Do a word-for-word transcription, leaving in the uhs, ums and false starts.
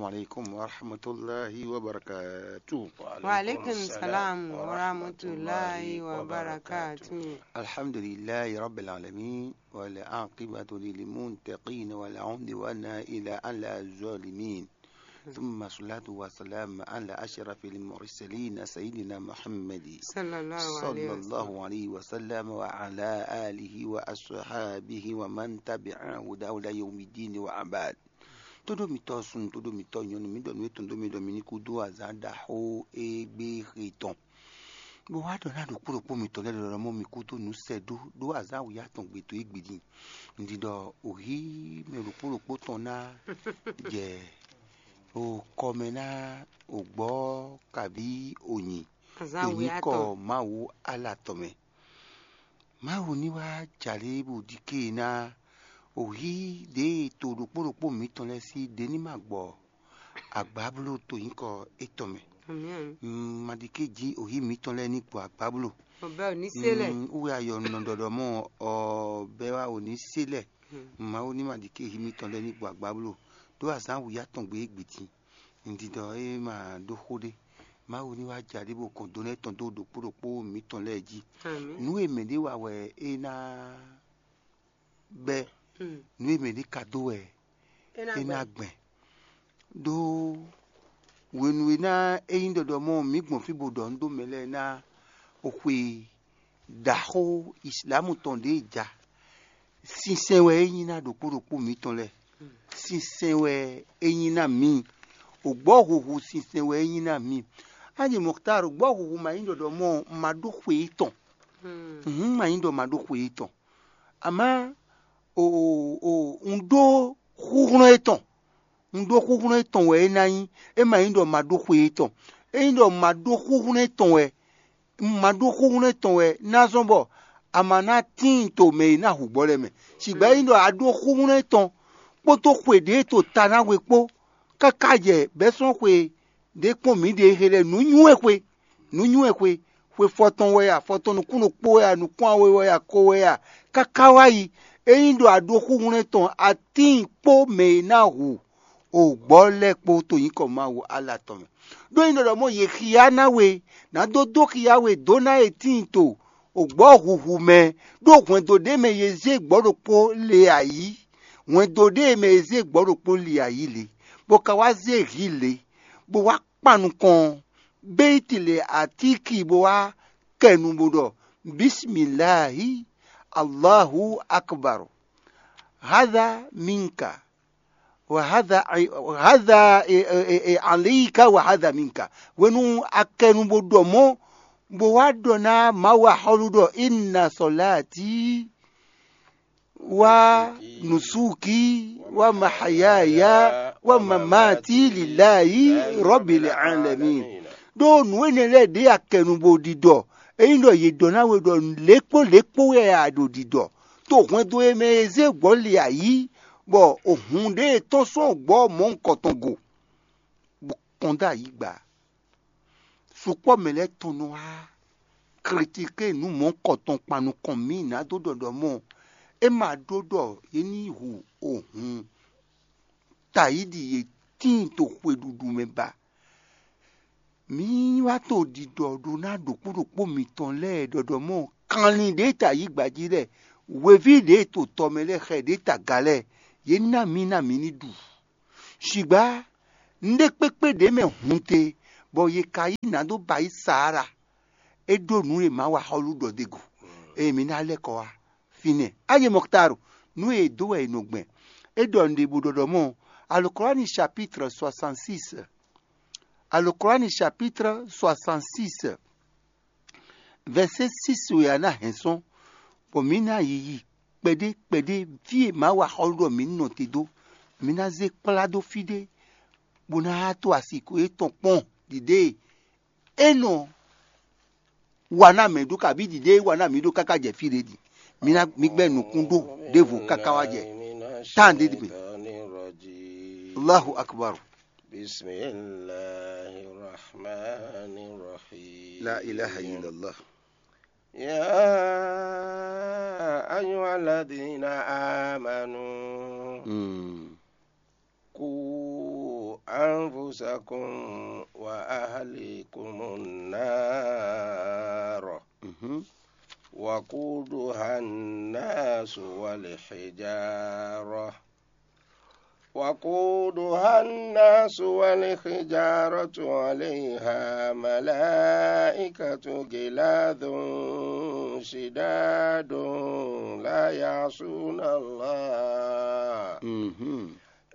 عليكم ورحمة الله وبركاته. وعليكم السلام ورحمة الله وبركاته. الحمد لله رب العالمين، والعاقبة للمتقين، ولا عدوان إلا على الظالمين. ثم الصلاة والسلام على أشرف المرسلين سيدنا محمد صلى الله عليه وسلم. صلى الله عليه وسلم وعلى آله وأصحابه ومن تبع هداه إلى يوم الدين وبعد. Todo mitɔ sun, todo mitɔ nyɔnu, mi ɖɔ nú etɔn dó mi ɖɔ mi ní kú dó azǎn ɖaxó e gbé xe tɔn. Bó wá ɖɔ ná ɖokpó ɖokpó mitɔn lɛ́ɛ ɖɔ mɔ mi kú dó nǔ sɛ ɖó ɖó azǎn wǔyá tɔn gbe to égbé din. Un ɖi ɖɔ òhí mɛ ɖokpó ɖokpó tɔn ná jɛ o kɔmɛ ná o gbɔ kabí o nyi. Azǎn wǔyá tɔn. Mawu ala tɔn mɛ. Mawu ní wá jalé bó ɖi ké ná òhí ɖě to ɖokpó ɖokpó mǐtɔn lɛ́ɛ sí ɖě ní ma gbɔ agbábló to nyǐkɔ étɔn mɛ. Amǐn. Maɖiké jí òhí mǐtɔn lɛ́ɛ ní gbɔ agbábló. Ọbẹ̀ ò ní sélẹ̀. Wúwe ayɔ nɔ ɖɔɖɔ mɔ ɔ bɛ wá ò ní sélẹ̀. Mawu ní maɖiké hí mǐtɔn lɛ́ɛ ní gbɔ agbábló ɖó azǎn wǔyá tɔn gbé gbětin. Ŋdidɔ é ma ɖó xó ɖé. Mawu ní wá jalé bó kɔn dó nɛ́ tɔn dó ɖokpó ɖokpó mǐtɔn lɛ́ɛ jí. Amǐn. Nǔ e mɛ ɖé wa wɛ é ná bɛ́. Nǔ e mɛ ɖé ka dó wɛ é ná gbɛn. Ɖó hwenu e ná é nyí ɖɔɖɔ mɔ mǐ gbɔn fí bó ɖɔ nǔ dó mɛ lɛ́ɛ ná xwe ɖaxó Islamu tɔn ɖě ja. Sinsɛn wɛ é nyí ná ɖokpó ɖokpó mǐtɔn lɛ́ɛ. Sinsɛn wɛ é nyí ná mǐ. Ògbɔ́ huhu sinsɛn wɛ é nyí ná mǐ. Aji Mɔktar, ògbɔ́ huhu ma nyí ɖɔɖɔ mɔ ma ɖó xwe étɔn. Hǔn ma nyí ɖɔ ma ɖó xwe étɔn. Amá o o un ɖó xúxlɔ́n étɔn. Un ɖó xúxlɔ́n étɔn wɛ é ná nyí. É ma nyí ɖɔ ma ɖó xwe étɔn. É nyí ɖɔ ma ɖó xúxlɔ́n étɔn wɛ, ma ɖó xúxlɔ́n étɔn wɛ ná zɔ́n bɔ a ma ná tíin to mɛ e ná hu gbɔ lɛ́ɛ mɛ. Sigbɛ nyí ɖɔ a ɖó xúxlɔ́n étɔn kpódó xwe ɖě to ta ná we kpó káká jɛ bɛ́ sɔ́n xwe ɖě kpɔ́n mǐɖée he lɛ́ɛ nǔ nywɛ́ xwe, nǔ nywɛ́ xwe, xwe fɔtɔn wɛ a, fɔtɔn nukún ɖokpó wɛ a, nukún awe wɛ a, ko wɛ a, káká wá yi. Ényí ɖo a ɖó xúxlɔ́n tɔn atín kpó mɛ e ná hu o gbɔ̌ lɛ́ɛ kpó to nyǐkɔ Mawu ala tɔn mɛ. Ɖó nyí ɖɔ mɔ yě xyá ná we, nǎ dó dó xyá we dó ná e tíin to o gbɔ̌ huhu mɛ, ɖó hwɛndo ɖé mɛ yě zé gbɔ̌ ɖokpó le ayǐ. Hwɛndo ɖé mɛ yě zé gbɔ̌ ɖokpó le ayǐ le, bó ka wá zé hǐ le, bó wá kpan nukɔn, béyiti le atíki bó wá kɛ nu bó ɖɔ: Bismillahi, Allahu akbar, hadha minka, wa hadha, hadha e, e, e, e, alika wa hadha minka. Hwenu a kɛ nu bó ɖɔ mɔ̌, bó wá ɖɔ ná Mawu axɔ́lú ɖɔ: Inna sɔláti wa nusuki wa mahayaya wa mamati lilayi rɔbili alamin. Ɖó nǔ énɛ́ lɛ́ɛ ɖě a kɛ nu bó ɖiɖɔ. Ényí ɖɔ yě ɖɔ ná we ɖɔ lě kpó lě kpó wɛ a ɖo ɖiɖɔ, to hwɛndo e mɛ e zé gbɔ̌ li ayǐ, bɔ hun ɖé e tɔ́n sɔ́ gbɔ̌ mɔ̌hunkɔtɔn go, bó kɔn dó ayǐ gba. Sukpɔ́ mɛ lɛ́ɛ tɔn nɔ wá klitiké nǔ mɔ̌hunkɔtɔn kpan nukɔn mǐ nǎ dó ɖɔ ɖɔ mɔ é ma ɖó ɖɔ yě ní hu ohun tayíɖi e tíin to xweɖuɖu mɛ ba. Mǐ wá to ɖiɖɔ ɖó ná ɖokpó ɖokpó mitɔn lɛ́ɛ ɖɔɖɔ mɔ kanlin ɖě ta yí gbají lɛ́ɛ, hweví ɖě to tɔ mɛ lɛ́ɛ, xɛ ɖě ta ga lɛ́ɛ, yě ná mǐ ná mǐ ní ɖu. Shǐgbá nǔɖé kpékpé ɖě mɛ hun te, bɔ yě ka yí nǎ dó ba yí Saara. É ɖó nǔ e Mawu axɔ́lú ɖɔ d'é go, eye mǐ ná lɛ́ kɔ wá fínɛ́. Ayi Mɔktaru, nǔ e è dó wɛ è nɔ gbɛn. É ɖɔ nǔɖé bó ɖɔ ɖɔ mɔ Alukɔ́lani chapitre soixante-six. Alukɔ́lani chapitre soixante-six, verset six wɛ a ná hɛn sɔ́n, bɔ mǐ ná yiyi kpɛɖé kpɛɖé fí e Mawu axɔ́lú ɖɔ mǐ ní nɔ te dó. Mǐ ná zé kplá dó fí ɖé, bó ná to asiko étɔn kpɔ́n ɖiɖée é nɔ wa ná mɛ ɖó, kabí ɖiɖée é wa ná mǐ ɖó káká jɛ fí ɖé din. Mǐ ná mǐ gbɛ́ nukún ɖó ɖěvo káká wá jɛ tán ɖé ɖi mɛ. Allahu akbar. بسم الله الرحمن الرحيم. لا إله إلا الله. يا أيها الذين آمنوا Mm. قوا أنفسكم وأهليكم النار وقودها الناس والحجارة وقودها الناس والحجارة عليها ملائكة غلاظ شداد لا يعصون الله